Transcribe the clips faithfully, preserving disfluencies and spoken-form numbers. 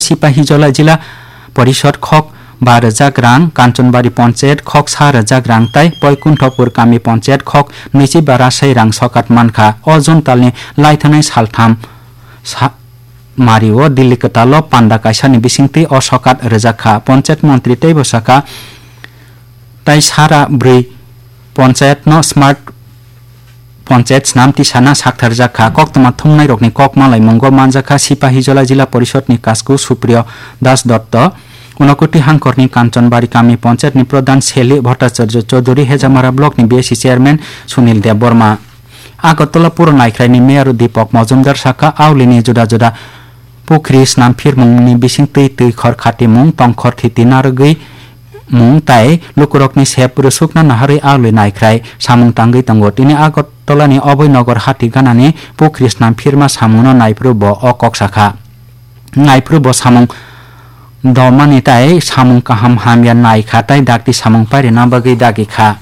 Sipahijola Jila Porishod khok ba rwjak rang, Kanchanbari Ponchayat khok sa rwjak rang tai Poikunthopur Kami Ponchayat khok nwichiba rasai rang sokat mankha. O June talni laithanai saltham sa-, mario Delhi kwtalo panda kaisani bisingtwi o sokat rwjak kha. Ponchayat montri teibo sakha, tai sara bwrwi ponchayatno smart ponchayat snam tisana saktharjak kha. Koktwma thumnairokni kok malaimungo manjak kha Sipahijola Jila Porishodni Kasku Supriyo Das Dotto, Unakoti Hangkhorni Kanchanbari Kami Ponchayatni Pradhan Seli Bhattacharya Chaudhury, Hejamara Blockni B S C Chairman Sunil Debbarma. Agartala Puro Naikhraini Mayor Deepak Majumdar sakha, aulini juda juda pukhri snamphirmungni bising twi twi khor khatimung, tongkhor thiti narwgwi mung tai lukurokni sep rwsukna naharwi aului naikhrai samung tangwi tongo. Tini Agartalani Oboi Nogor hati ganani pukhri snamphirma samungno naiphuru bo o kok sakha. Naiphuru bo samung domani tai samung kaham hamya naikha tai dakti samung pairina bagwi dagi kha.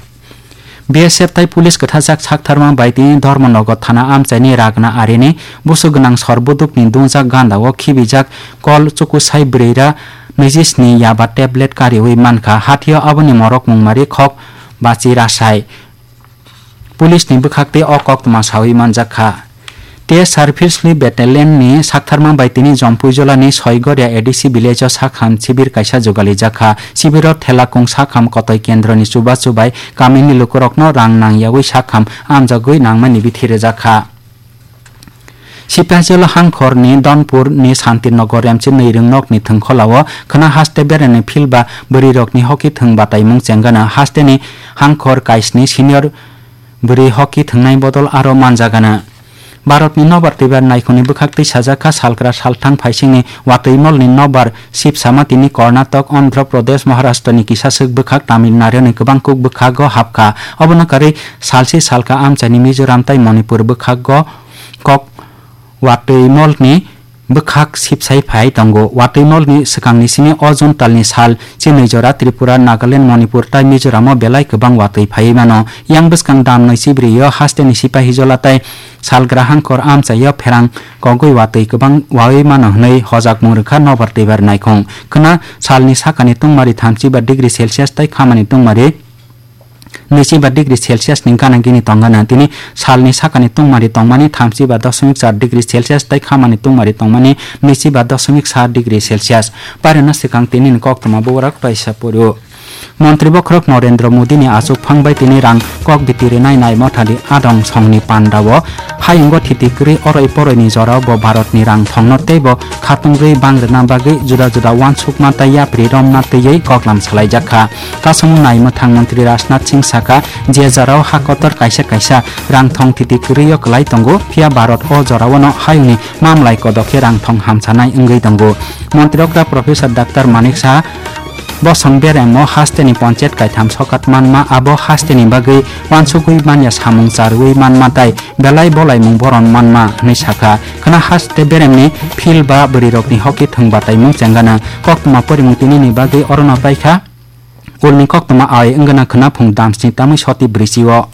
B S F tai police kwthajak saktharma bai tini Dharmanagar thana amchaini Ragna arini busu gwnang sor budukni dungjak gandao khibijak kol chukusai bwrwira nijisni yaba tablet kariwi mankha. Hathio aboni morok mungmari khok bachi rasai. Police ni bwkhaktwi o koktwma sawi manjak kha. T S R Firstly Battalion ni saktharma bai tini Jompuijolani Soigoria A D C village o sakham sibir kaisa jugalijak kha. Sibiro Thelakung sakham kotoi kendroni chubachu bai kamini lukurokno rang nangyawi sakham amjagwi nangmani bithi rwjak kha. Sipahijola Hangkhorni Donpurni Santinagar Remchi Nwiring nokni thwngkholao khwna haste berani philba bwrwirokni hoki thwng bataimung chengano. Hasteni Hangkhor kaisni senior bwrwi hoki thwngnai bodol aro manjagano. Bharatni nobar twibar naikhungni bwkhak twi sajak kha, salkra salthang phaisingni watwi molni nobar sipsama tini Karnataka, Andhra Pradesh, Maharashtrani kisaswk bwkhak, Tamil Naduni kwbang kuk bwkhago hapkha. Obono karwi salsi salka amchaini Mizoram tai Manipur bwkhago kok watwi molni bwkhak sipsai phai tongo. Watwi molni swkangni simi o June talni sal chinwi jora Tripura, Nagaland, Manipur tai Mizoramo belai kwbang watwi phaiwi mano. Yang bwskang dam nwi chibrwi o hasteni Sipahijola tai Salgra Hangkhor amchaio pherang kogwi watwi kwbang wawi mano hwnwi hojakmung rwkha nobar twibar naikhung. Khwna salni sakani tungmari thamchi ba degree Celsius tai khamani tungmari nwichi ba degree Celsius ni gana gini tongana. Tini salni sakani tungmari tongmani thamchi ba dosmik char degree Celsius tai khamani tungmari tongmani nwichi ba dosmik sa degree Celsius. Pairano swkang tini ni koktwma bubarak twaisa poro. Montri bokhorok Narendra Modi ni achuk phang bai tini rang kok biti rinai nai mothani adong songni pandao hayungo thiti kwrwi oroi poroi ni jorao bo Bharat ni rang thongno tei bo khatung rwi bang rwna bagwi juda juda uansukma tai yapri romna twiwi koklam salaijak kha. Kasung nai mwthang montri Rajnath Singh saka, je jorao ha kotor kaisa kaisa rang thong thiti kwrwi o kwlai tongo, phiya Bharat o jorao no hayungni mamlai kodok khe rang thong hamsanai wngwi tongo. Montri okra Professor Doctor Manik Saha bosong beremo hasteni ponchayat kaitham sokat manma, abo hasteni bagwi uansugwi manya samung charwi manma tai belai bolaimung boron manma hwnwi sakha. Khwna haste beremni phil ba bwrwirokni hoki thwng bataimung chengana koktwma porimung tinini bagwi orono paikha. Ulni koktwma ai wngana khwna phung damsni tamwi soti brisi o.